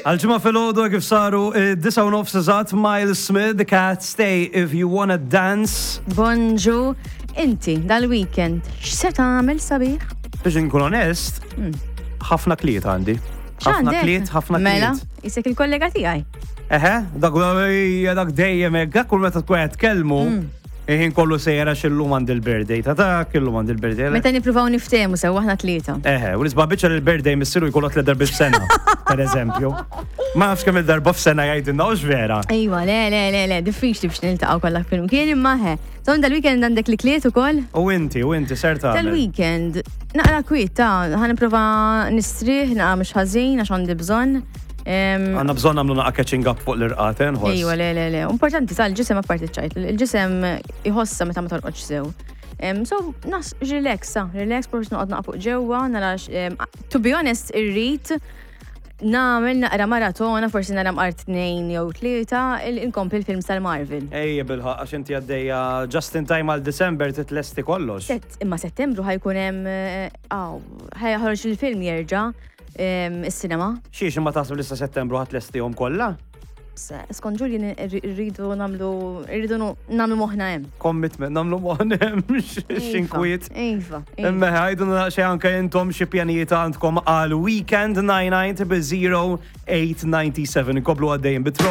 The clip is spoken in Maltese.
Għal-ġimgħa filgħodu kif saru 9:30 eżatt Miles Smith, The Cat Stay If You Wanna Dance. Bonġu, inti dal-weekend x'se tagħmel sabiħ? Biex inkun onest, ħafna kliet għandi. Ħafna kliet, ħafna kliet. Mela, isek il-kollega tiegħi. Eħe, dak dak dejjem hekk, dak kull meta tkun qed tkellmu. Il-ħin kollu sejjer għax illum għandi l-birthday ta' dak, illum għandi l-birthday. Meta nippruvaw niftehmu sew aħna tlieta. Eħe, u nisba' biċċa li l-birthday missiru jkollu tliet darbiet f'sena, per eżempju. Ma nafx kemm il-darba f'sena jgħidilna hux vera. Ejwa, le, le, le, le, diffiċli biex niltaqgħu kollha flimkien imma ħe. So dal-weekend għandek li kliet ukoll? U inti, u inti ser tagħmel. Dal-weekend, naqra kwiet ta' ħa nipprova nistrieħ, naqra mhux ħażin għax għandi bżonn. Għanna bżon għamlu naqa catching up fuq l-irqat, eh, nħoss. Ejwa, le, le, le. Importanti tal-ġisem apparti ċajt. Il-ġisem jħossa meta ma torqodx sew. So, nas, relax, sa, relax, forsi noqgħod naqa fuq ġewwa, nara, to be honest, irrid nagħmel naqra maratona, forsi nara mqar tnejn jew tlieta, inkompli l-films tal-Marvel. Ejja bilħaq, għax inti għaddejja just in time għal December titlesti kollox. Imma Settembru ħajkun hemm, eh, ħajħroġ il-film jerġa' is-sinema. Xiex imma taħseb li sa Settembru ħadd lestihom kollha? Skont Julian irridu nagħmlu irridu nagħmlu moħħna hemm. Commitment nagħmlu moħħna hemm iva, x'inkwiet. Iva. Imma ħajdu xi anke intom xi pjanijiet għandkom għal weekend 99 0 897 inkomplu għaddejjin bit.